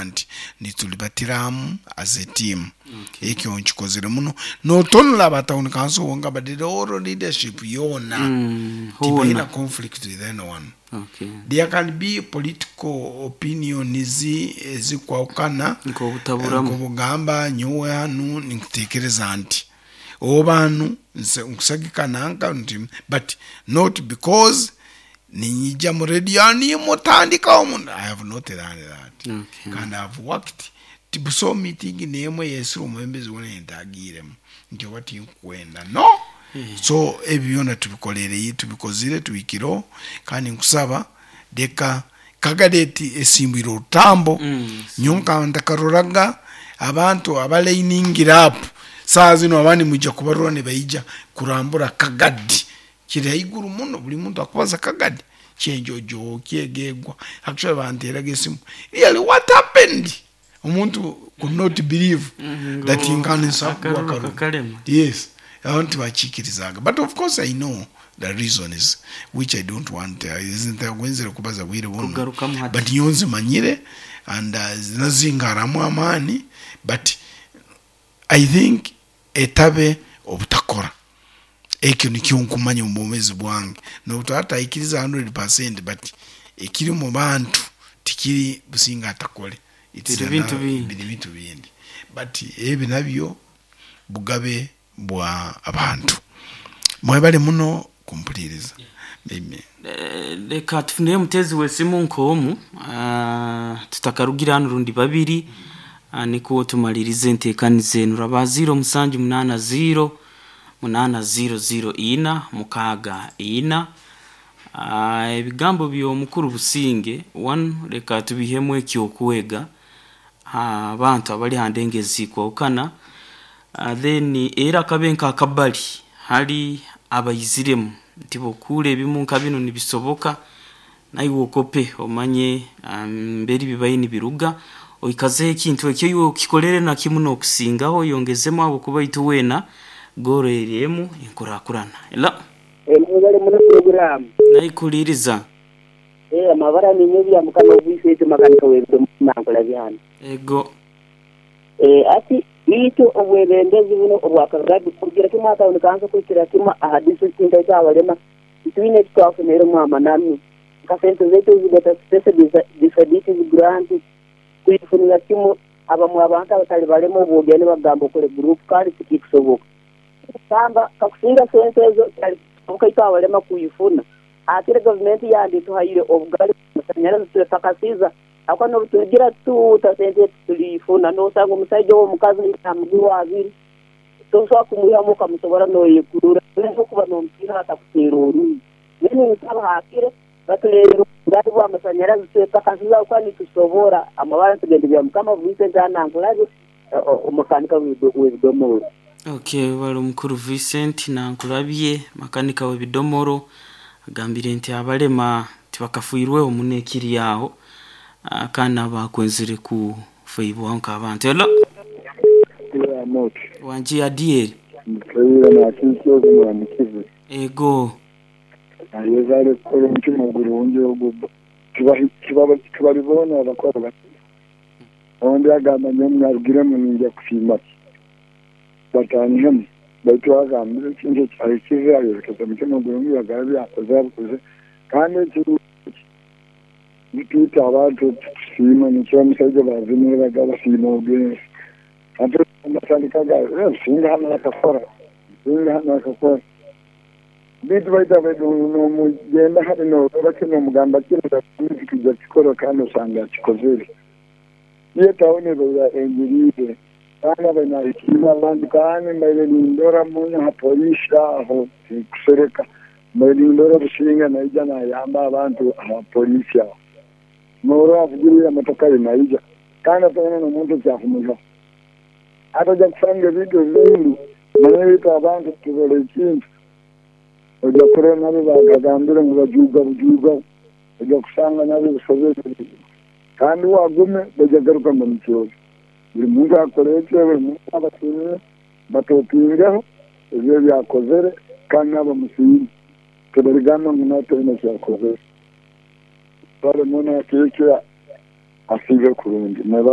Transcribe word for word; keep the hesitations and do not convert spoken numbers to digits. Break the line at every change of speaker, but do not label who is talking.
Nti nitulibatiramu as a team. Ekyo nkikozere muno, notonora aba town council wonka, but the whole leadership yoona
Mm,
tibaina
hoona
conflict with anyone.
Okay.
There can be political opinions ezikwahukana,
nk'obutaburamu.
Nk'obugamba nyowe hanu ninkutekereza nti oba hanu nse- nkusagika nanka nti, but not because ninyija mu radio nimutandikaho muno. I have not done that.
Okay.
Kandi I have worked tibuso meeting nemwe yesire omwembezi wona yentagiremu nti oba tinkwenda no. So ebyo byona tubikorere, tubikozire, tubikireho. Kandi nkusaba leka Kagadi esimbwire orutambo.
Mm.
Nyowe ntakaroraga abantu abalainingira up. Saa zino abandi mwija kubarora nibaija kurambura Kagadi, kiri haiguru muno. Buli muntu akubaza Kagadi kyenjojo kyegegwa. Actually banteraga esimu, "Really, what happened?" Omuntu could not believe
Mm,
that
ngo
nkanisa
akaruru kakarema.
Yes, abantu tibakikirizaga, but of course I know the reasons, which I don't want uh, wenzere kubaza bwire buno.
Kugarukamu hati.
But nyowe nzimanyire and uh, nazingaramu amaani, but I think etabe obutakora ekyo nikyo nkumanya omu bwomezi bwange, nobutataikiriza one hundred percent, but ekiri mu bantu tikiri Businga atakole. It's
Biri bintu
another-
bindi.
Biri bintu bindi, but ebi nabyo bugabe bwa abantu. Mwebale muno kumpuliriza. Amen.
Eh, reka tufunire mutezi wesimu nk'omu, ah, tutakarugira hano, rundi babiri, ah, niko tumalirize enteekaniza enu. Raba ziro musanju munaana ziro munaana ziro ziro ina mukaaga ina. Ah, ebigambo by'omukuru Businge one, reka tubihemu ekyokwega Ah, abantu abali hande ezikwahukana. Ah, then era akabe nk'akabali hali abayiziremu nti bokuura ebimu nka bino nibisoboka, naiwe okope omanye ah, mberi bibaye nibiruga, oikazeho ekintu ekyo, iwe okikolere nakimu n'okusingaho, oyongezemu, abo kuba itu weena goro eriemu enkurakurana ela.
Mwebale muno programu.
Naikuliriza.
Eh, amabara ninyo bya mukama obwifete makanika webyo mankola byana.
Ego.
Eh, ati itu obwebembezi buno obwakagadi kugira kimwe akaboneka kanso kuikira kimwe aha district ndaita abalema twine twafunire amananu nka sente zaitu zigata special disabilities grant kuifunira kimwe. Abamwe abantu abatali balema obwogene bagamba okole group, kandi tikikusoboka kamba kakusinga sente ezo ukaita abalema kuifuna. Akire gavumenti yandi tuhaire obugali masanyarazi tutakasiza ako nobutugira tuta sente tulifuna, nosanga omusajja womukazi amugirwa abiri, tosobola kumwihamu okamusobora noyekurura okuba nomupiira atakuteera oruyi. Then nsaba hakire batuleerera obugali bw'amasanyarazi twetakasiza kuba nitusobora. Amabara tugende bya mukama Vincent anankulabe omukanika w'ebidomoro.
Okay, bali omukuru Vincent nankulabye, makanika w'ebidomoro, agambire nti abalema tibakafuirweho muno ekiri aho. Ah, kandi abakwenzire kufaibwaho nk'abantu elo. Wangi adieri.
Nkaira nakikyozi muramukize.
Ego.
Ayezare kukora omutima gurungi ogwo tibalibona abakora bati ondi agamba nyowe narugiremu ninja kusiima ki batanihemu, baitu agambire ekintu ekyahikize, ayorekeza omutima gurungi, yagaba byakoze abikoze. Kandi ekirungi nitwita abantu tusiima, nikyo omusajja bazinire baga basiima ogensi ate batandikaga singa hano akakora, singa hano akakora, bitu baita nomugenda hati norora kino omugamba kino kijja kikora, kandi osanga akikozere. Ye tawuni ebeera enjiriire kandi abainahikiire abantu, kandi mbaire nindora muno ha poliisi aho, tikusereka, mbaire nindora Businga naija nayamba abantu aha poliisi aho, norora avugirira emotoka ye naija, kandi ataina n'omuntu ekyakumuihaho atajja kusanga ebintu ebindi. Manye bitu abantu turora ekintu, ojja kurora nabo bagagambire ngu bajuuga bujuuga, ojja kusanga nabo bisobere, kandi wagume bajja garuka ngu nikyozo. Buli muntu akora ekyo, buli muntu abasiimire batopingeho ebyo byakozere, kandi n'abamusiime tebaligamba ngu nataina kyakozere. Bale muno akekyo asiibe kurungi.